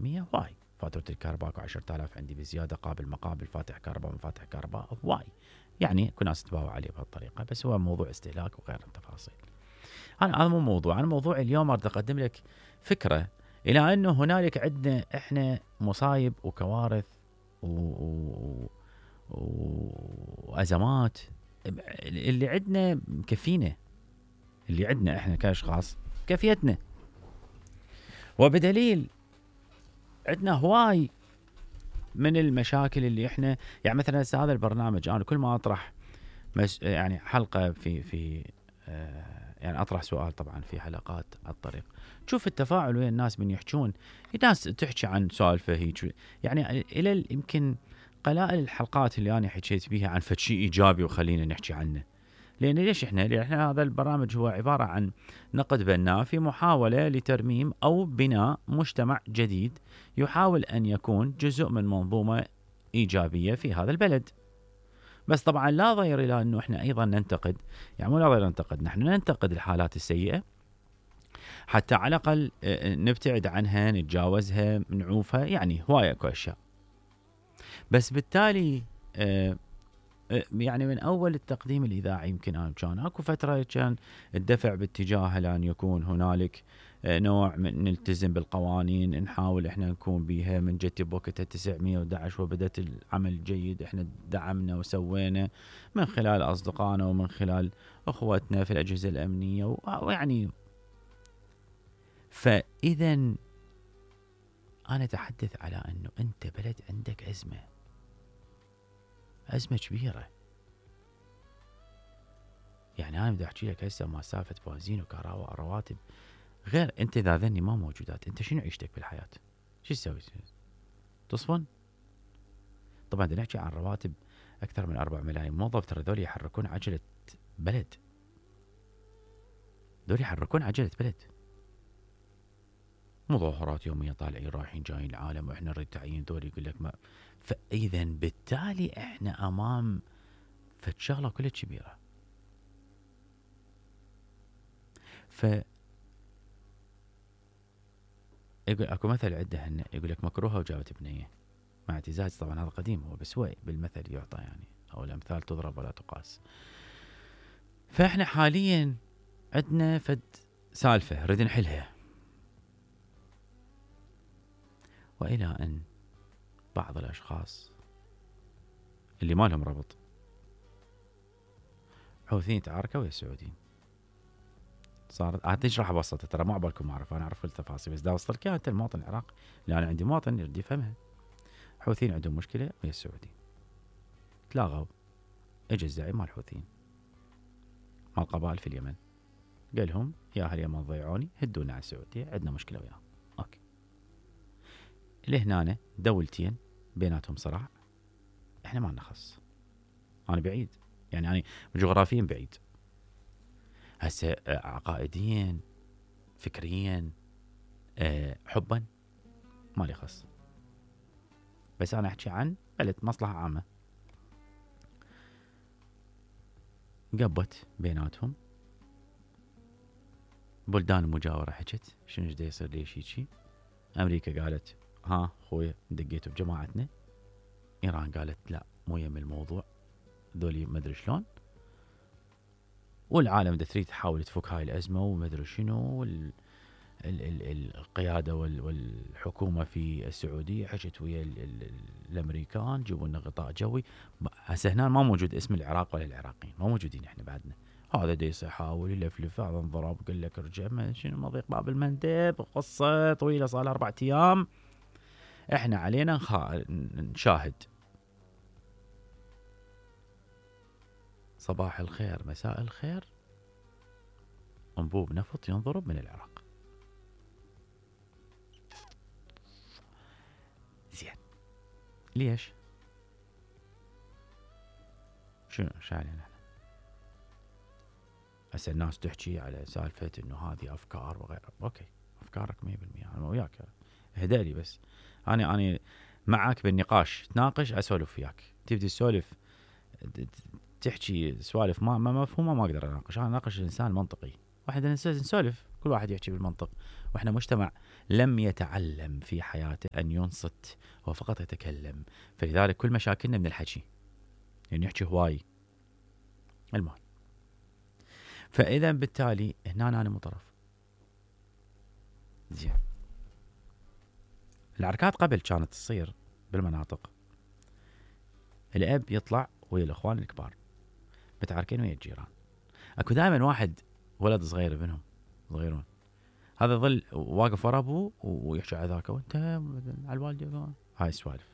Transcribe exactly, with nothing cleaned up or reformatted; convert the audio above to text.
أهمية هواي. فاتورة الكهرباء اكو عشرة آلاف عندي بزيادة، قابل مقابل، فاتح كهرباء مفاتح كهرباء هواي، يعني اكو ناس تباوع عليه بهالطريقة، بس هو موضوع استهلاك وغير التفاصيل. أنا هذا مو موضوع، أنا موضوع اليوم أريد أقدم لك فكرة إلى أنه هنالك عندنا إحنا مصايب وكوارث و... و... وأزمات. اللي عندنا مكفينا، اللي عندنا إحنا كأشخاص كفيتنا، وبدليل عندنا هواي من المشاكل اللي إحنا يعني مثلا هذا البرنامج أنا كل ما أطرح مش يعني حلقة في في آه يعني أطرح سؤال طبعا في حلقات على الطريق، تشوف التفاعل ويا الناس من يحجون، الناس تحكي عن سوالفه هيك، يعني إلى يمكن قلائل الحلقات اللي أنا حكيت بيها عن فد شيء إيجابي وخلينا نحكي عنه. لأن ليش إحنا؟ لأن إحنا هذا البرنامج هو عبارة عن نقد بناء في محاولة لترميم أو بناء مجتمع جديد يحاول أن يكون جزء من منظومة إيجابية في هذا البلد. بس طبعا لا ضير إلى أنه إحنا أيضا ننتقد، يعني مو لا ضير ننتقد، نحن ننتقد الحالات السيئة حتى على الأقل نبتعد عنها، نتجاوزها، نعوفها، يعني هواية أكو أشياء. بس بالتالي يعني من أول التقديم الإذاعي يمكن أنا كان أكو فترة كان الدفع باتجاه لأن يكون هنالك نوع من نلتزم بالقوانين، نحاول إحنا نكون بيها من جت بوقتها تسعمية وأحد عشر وبدأت العمل الجيد، إحنا دعمنا وسوينا من خلال أصدقائنا ومن خلال أخوتنا في الأجهزة الأمنية، ويعني فإذا أنا أتحدث على أنه أنت بلد عندك أزمة، أزمة كبيرة. يعني أنا بدي أحكي لك هسه ما سالفة بنزين وكهرباء رواتب، غير أنت إذا ذني ما موجودات، أنت شنو عيشتك بالحياة؟ شو تسوي؟ تصفن؟ طبعا بدنا نحكي عن رواتب أكثر من أربع ملايين موظف، ترى ذول يحركون عجلة بلد، ذول يحركون عجلة بلد. مظاهرات يومية طالعين رايحين جايين العالم وإحنا نريد تعيين ذول، يقول لك ما. فإذا بالتالي إحنا أمام فشغلة كلها كبيرة. ف يقول اكو مثل عده هن يقول لك مكروهه وجابت بنيه، مع اعتزاز طبعا هذا قديم هو، بس هو بالمثل يعطى يعني، او الامثال تضرب ولا تقاس. فاحنا حاليا عندنا فد سالفه نريد نحلها، والى ان بعض الاشخاص اللي ما لهم ربط حوثيين تعاركوا ويا السعوديين. صارت هتشرح ابسطها، ترى ما عبالكم اعرف، انا اعرف كل التفاصيل، بس دا وصلت انت المواطن العراقي، لان انا عندي مواطن يريد يفهمها. حوثيين عندهم مشكله ويا السعوديين، تلاغوا، اجى الزعيم مال الحوثيين مال القبائل في اليمن، قال لهم يا اهل اليمن ضيعوني، هدونا على السعوديه، عندنا مشكله وياهم. اوكي، لهنا دولتين بيناتهم صراع، احنا ما لنا خص. انا بعيد، يعني انا جغرافيا بعيد، هسه عقائديا فكريا أه حبا ما لي خص، بس انا احكي عن بلد مصلحه عامه. قبت بيناتهم بلدان المجاوره، حكت شنو جدي يصير ليش هيجي. امريكا قالت ها خويا دقيتوا بجماعتنا، ايران قالت لا مو يم الموضوع ذولي ما ادري شلون، والعالم دا تريد تحاول تفك هاي الازمه وما ادري شنو. ال ال ال القياده وال والحكومه في السعوديه حكت ويا ال ال الامريكان جيبوا لنا غطاء جوي. هسه هنا ما موجود اسم العراق ولا العراقيين، ما موجودين احنا بعدنا. هذا ديس يحاول يلفلف، هذا انضرب قال لك رجع ما شنو مضيق باب المندب، قصه طويله صار لها اربع ايام. احنا علينا نخا... نشاهد. صباح الخير مساء الخير، انبوب نفط ينضرب من العراق. زين ليش؟ شنو شايلين احنا؟ هسه الناس تحكي على سالفه انه هذه افكار وغيرها، اوكي افكارك مية بالمية انا وياك، اهدالي بس انا انا معك بالنقاش، تناقش اسولف وياك، تبدي تسولف تحكي سوالف ما ما مفهومه ما اقدر اناقش. انا اناقش الانسان منطقي، واحد نسولف كل واحد يحكي بالمنطق، واحنا مجتمع لم يتعلم في حياته أن ينصت، هو فقط يتكلم. فلذلك كل مشاكلنا من الحكي، يعني يحكي هواي. المهم، فإذا بالتالي هنا أنا مو طرف. زين، العركات قبل كانت تصير بالمناطق، الأب يطلع ويا الإخوان الكبار متعاركين ويا الجيران، أكو دائما واحد ولد صغير منهم صغيرون، هذا ظل واقف ورا أبوه ويحكي على ذاك، وأنت على الوالدة، هاي السوالف.